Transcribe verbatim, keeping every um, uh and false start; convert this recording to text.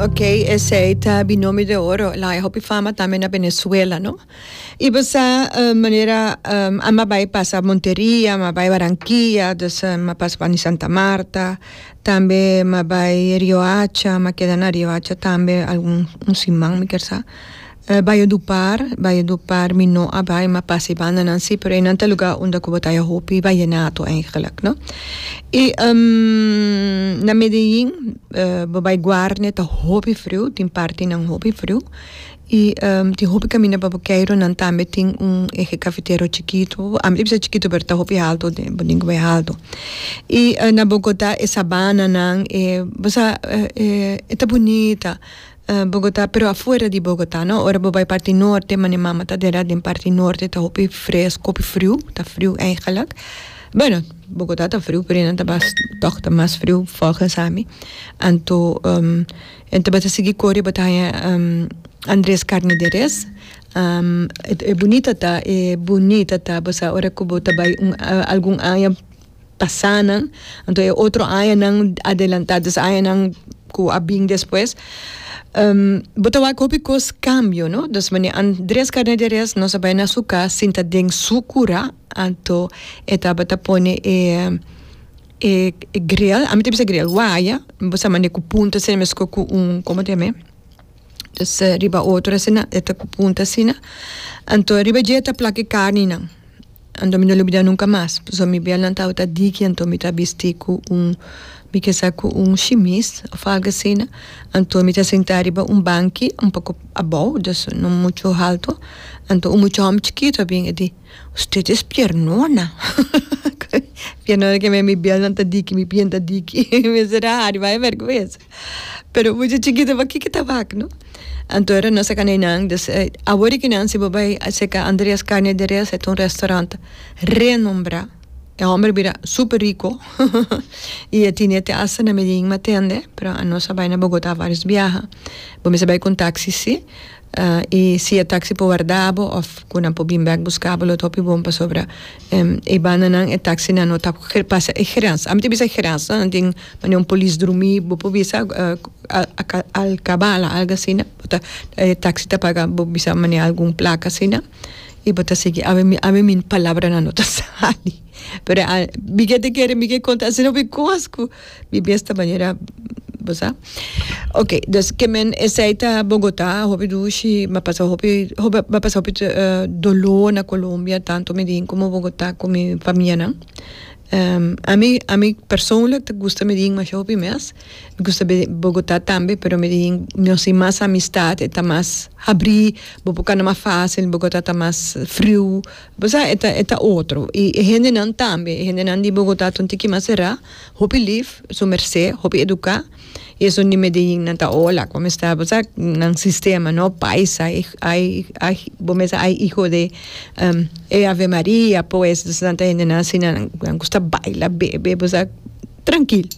Ok, esey ta Binomio de Oro, el a haya hopi fama tambe na Venezuela, no? Y bo sa uh, manera um, ami a bay pasa Monteria, m'a bay Barranquilla, dus uh, m'a pasa pa Santa Marta, tambe m'a bay Riohacha, m'a keda na Riohacha tambe algun un siman, mi kier sa. Uh, Valledupar, Valledupar mi no a bay, m'a pasa banda nan si, pero einan ta lugar unda cu bo ta haya hopi vallenato eigenlijk, no? Y um, na Medellín, uh, bo bay Guarne ta hopi friu, tin parti nan hopi friu. Y um, tin hopi camina pa bo keiro nan tambe tin un eje cafetero chikito, ami bisa chikito pero ta hopi halto, de bo tin cu bay halto. Y uh, na Bogotá e sabana nan, e, bo sa, e, e ta bunita. Uh, Bogotá, pero afuera di Bogotá, no? Ora bo bay parti norte, mane mama ta dera den parti norte, ta hopi fresco, hopi friu, ta friu eigenlijk. Bueno, Bogotá ta friu, pero nan ta bas, toch ta mas friu volgens ami. Anto, um, anto bo ta sigui core bo ta um, Andrés Carne de Res. Um, e, e bunita ta, e bunita ta, bo sa ora cu bo ta bay un, uh, algun aña pasa nan, anto e otro aña nan adelanta, dus aña nan cu a bin despues. Um, bo ta wak hopi cos cambio, no? Dus wanneer Andrés Carne de Res nos a bay na su cas, sinta den su cura, anto e tabata pone e e, e grill, ami ta bisa grill, waya, bo sa mane cu punta asina, mesco cu un, con ta yama? Dus uh, riba otro asina, e ta cu punta asina. Anto riba dje ta plak e carni nan. Anto mi no lubida nunca mas. So mi bielnan tabata diki, anto mi ta bisti cu un mi kier sa cu un shimis of algo asina. Anto mi ta sinta riba un banki un poco abou, dus no mucho halto. Anto un mucha homber chikito bin e di: "Usted es piernona." Piernona ke mi bielnan ta diki, mi pia ta diki. Mi sera hari vai vergüenza. Pero mucha chikito pa kiko ta wak, no? Anto era nos a cana einan, dus eh, awor cu nan si bo bay cerca Andrés Carne de Res, ta un restaurant renombra. E homber bira super rico. Y e tin te hasta na Medellín m'a tende, pero nos a bay na Bogotá varios biaha. Bo mester bay cu taxi si. Uh, y si e taxi por warda bo of cu nan por bin back busca bo, lo ta hopi bon pasobra um, e banda nan e taxi nan no ta pasa e grens. Ami ta bisa grens, no? Tin mane un polis drumi, bo por bisa uh, alcabala, algo asina. Bo ta e taxi ta paga, bo bisa mane algun placa asina. Y bo ta sigui awe mi awe mi palabra nan no ta sali. Pero uh, mi ke te kere mi ke conta asina mi cos cu mi besta manera bo sa. Ok, dus ke men esey ta Bogotá, hopi dushi, m'a pasa hopi, hopi m'a pasa hopi uh, dolor na Colombia, tanto Medellín como Bogotá cu mi famia nan. Um, ami, ami persoonlijk ta gusta Medellín mas hopi mes. Mi gusta Bogotá tambe, pero Medellín nos tin mas amistad, ta mas habri, bo por cana mas facil, Bogotá ta mas friu. Bo sa, e ta, e ta otro. Y e hende nan tambe, e hende nan di Bogotá ta un tiki mas sera, hopi lief, su merced, hopi educa. Y esun di Medellín nan ta "Hola, ¿cómo está?" Bo sa, nan sistema, no? Paisa, ay, ay, ay, bo mesa, ay, hijo de um, e Ave Maria, pues, dus nan ta hende nan asina, nan gusta baila, bebe, bo sa, trankil.